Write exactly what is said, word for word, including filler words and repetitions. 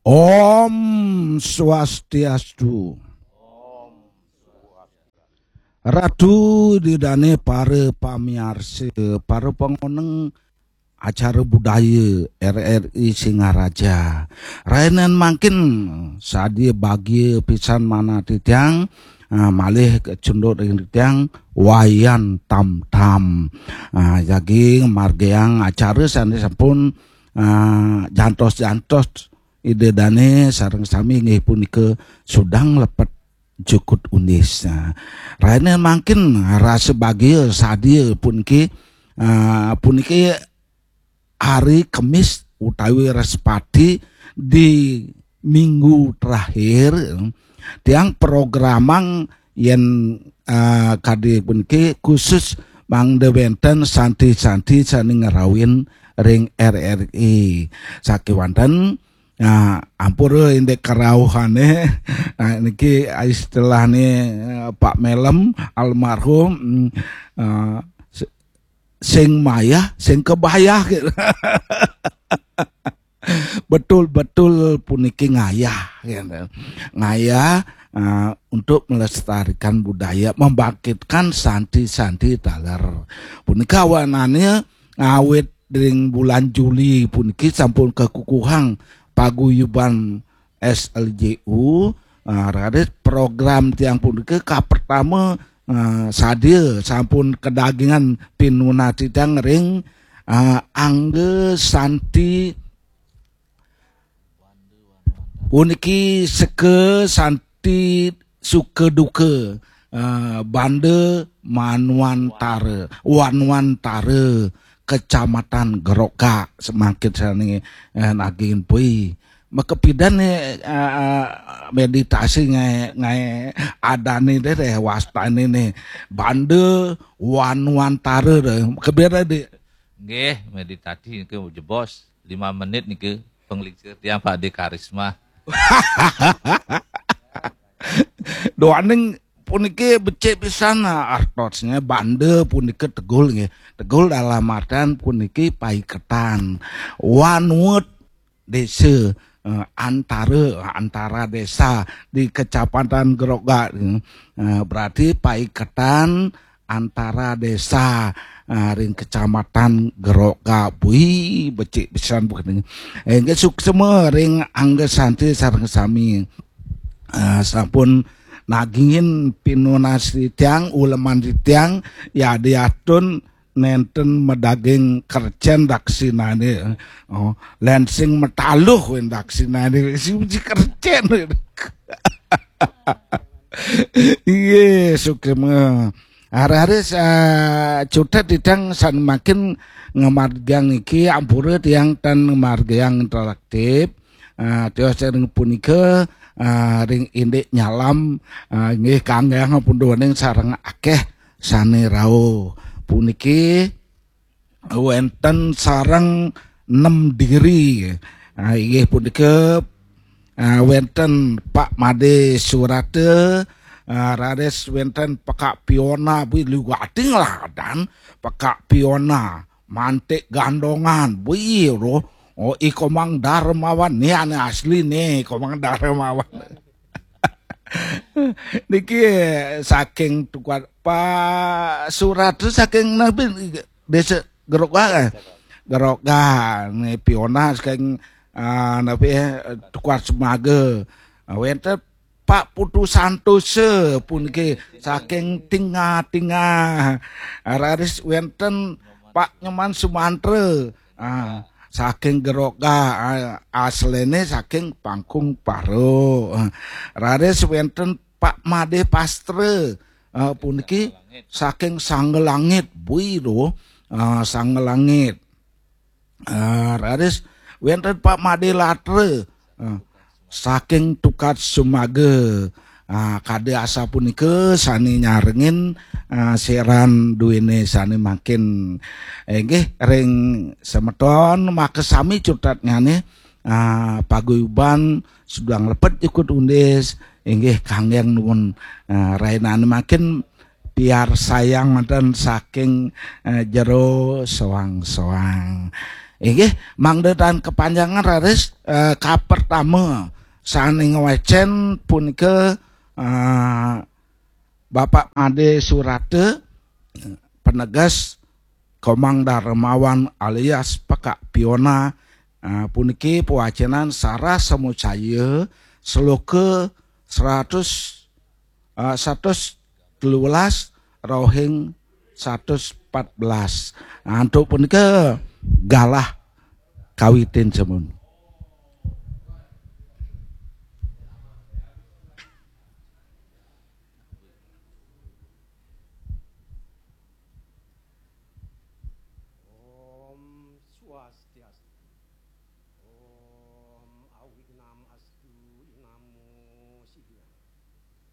Om Swastiastu. Ratu, Ida dane para pamiarsa, para pangoneng acara budaya R R I Singaraja. Rahinan mangkin sadia bagia pisan manah titiang, ah, malih kacunduk ring titiang Wayan Tam Tam. Ah, jagi ngamargiang acara sane sampun, ah, jantos-jantos Ida dane sareng sami inggih punika Sudang Lepet Jukut Undis. Nah, rahinan mangkin rasa bagia sadia puniki, ah, puniki hari Kemis utawi Respati di minggu terakhir, tiang programang yen, ah, kadi puniki khusus mangda wenten santi-santi sane ngrawin ring R R I. Sakewanten, nah, ampura indik karauhane. Nah, niki istilahne, eh, Pak Melem almarhum, mm, eh, se-, sing mayah, sing kebayah gitu. Betul-betul puniki ngayah, gitu. Ngayah, eh, untuk melestarikan budaya, membangkitkan santi-santi taler. Punika awanane ngawit ring bulan Juli puniki sampun kakukuhang paguyuban S L J U, eh, raris program tiang punika kapertama, eh, sadia sampun kadagingan pinunati tiang ring, eh, angga santi puniki seka santi suka duka, eh, Banda Manwantara, Wanwantara, Kecamatan Gerogak, semangkit sane, eh, nagingin pui. Makapidan ne, eh, eh, meditasi ngae, ngae adane deh, deh, wastane ne. Banda Wanwantara deh. Makapida, Dik? Nggih, meditasi niki jebos lima menit niki, penglingsir tiang Pak De Karisma. Duaning puniki becik pisan, ah, artosnya, banda punika tegul nggih. Tegul dalam artian puniki paiketan. Wanwet desa, eh, antara, antara desa di Kecamatan Gerogak, eh, berarti paiketan antara desa, eh, ring Kecamatan Gerogak. Bui, becik pisan bukan. Inggih suksma ring angga santi sareng sami. Eh, sampun nagingin pinunasi tiang, uleman tiang, ya diatun nenten madaging kercen daksinane. Oh, lén sing mataluh wén daksinane, sing uji kercen. Iya, suksma. Hari-hari sa-, cutet titiang sane mangkin ngamargiang iki, ampura tiang tan ngamargiang interaktif. Ah, tios ring punika, ah, ring indik nyalam, ah, inggih kanggeang punduaning sareng akeh sane rauh. Puniki wenten sareng nem diri. Ah, inggih punika, ah, wenten Pak Made Surata, ah, raris wenten Pekak Piona, bui liwating lah dan Pekak Piona, Mantik Gandongan, bui roh. Oh, I Komang Darmawan, ni ane asli ni, Komang Darmawan. Niki saking tukad Pak Surat tu saking nabi desa Gerogak, eh? Gerogak, ni Piona saking, ah, nabi, eh, tukad Semaga. Ah, wenten Pak Putu Santosa puniki saking Tingah-Tingah. Raris wenten Pak Nyoman Sumantra. Ah, saking Gerogak, ah, aslene saking Pangkung Paro. Ah, raris wenten Pak Made Pastra. Ah, puniki saking Sanggelangit, bui do. Ah, Sanggelangit. Ah, raris wenten Pak Made Latra. Ah, saking Tukad Sumaga. Ah, kade asapunika sane nyarengin, ah, seran duene sane mangkin. Inggih ring semeton makasami cutetnyane, ah, paguyuban Sudang Lepet Jukut Undis, inggih kanggeng nuwun, ah, rainane mangkin piarsayang wenten saking, eh, jero soang-soang. Inggih, mangda tan kepanjangan raris, eh, kapertama sane ngwacen punika, eh, Bapak Made Surata, peneges Komang Darmawan alias Pekak Piona, eh, puniki pewacenan Sarah Samucaya, sloka seratus, eh, satus telu belas, rohing satus empat belas. Nah, antuk punika galah kawitin semun.